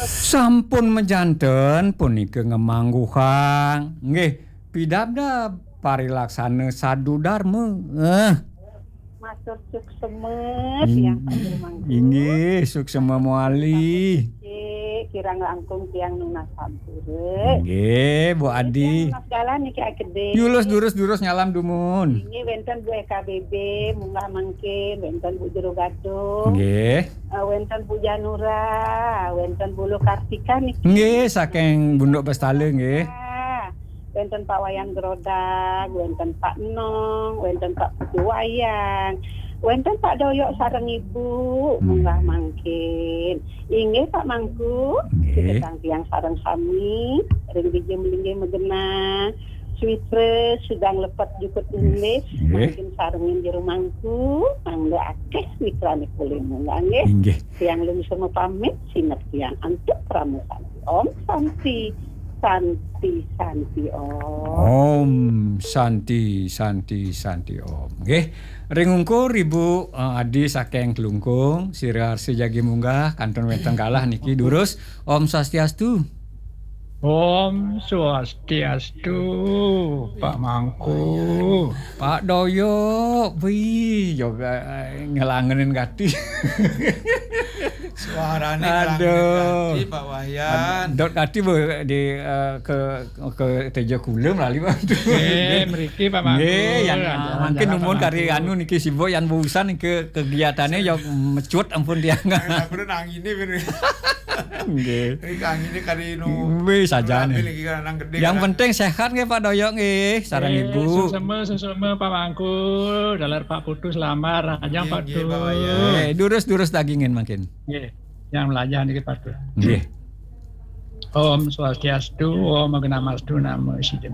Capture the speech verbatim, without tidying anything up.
Sampun majanten punika ngemangguhang. Nggih, pidabdab parilaksana sadu darma. Eh. Matur suksema, tiang Ing-, Pak Guru Mangku. Inggih, suksema mawali. Cik, kirang langkung tiang nunas sampura. Inggih, Bu Adi. Tiang nunas galah niki akedé. Yulus durus-durus nyalam dumun. Inggih, wénten Bu E K B B, munggah mangkin, wénten Bu Jero Gadung. Nggih. Eh, wénten Bu Janura, wénten Bu Lukartika niki. Nggih, saking Bunduk Bestala, nggih. Ah, wénten Pak Wayan Grodag, wénten Pak Nong, wénten Pak Putu Wayang, wénten Pak Doyok sareng Ibu, Hmm. munggah mangkin. Inggih, Pak Mangku, Nggih. Sida tiang sareng sami, ring dija malinggih magenah, switra sidang lepet jukut Nggih. Nggih. Mangkin sarengin jero mangku, mangda akéh switrané kulina, nggih. Inggih. Tiang lungsur mapamit, sineb tiang antuk parama santi. Om Santi, Santi, Santi Om. Om Santi, Santi, Santi Om. Nggih. Ring ungkur Ibu, eh, Adi saking Klungkung, sira arsa jagi munggah, kantun wénten galah niki durus. Om Swastiastu. Om Swastiastu, Pak Mangku. Pak Doyok, wih, yoga, eh, ngelangenin gati. Suarane Aduh. Ngelangenin gati, Pak Wayan. Dot gati, Bu, di, eh, ke, ke Tejo Kulem lali, Pak. Eh, mriki, Pak Mangku. Nggih, yang Aduh, mungkin jalan, numun Pak kari Mangku. Anu niki sibuk yang urusan ke kegiatannya ya mecut ampun tiang. Nang ini bener. Nggih. Iki angine kari nu. Wis, sajane. Rabi lagi kan anak gedhe. Yang kan. Penting sehat nggih, Pak Doyok nggih, sareng Eh, Ibu. Suksema, suksema Pak Mangku, dalar Pak Putu selamat, raja Nggih, Pak nggih, Dut. Pak Wayan. Eh, durus-durus dagingin mangkin. Nggih. Yang melajah niki Pak Dut. Nggih. Om Swastiastu, Om Agnamastu, Namo Sidam.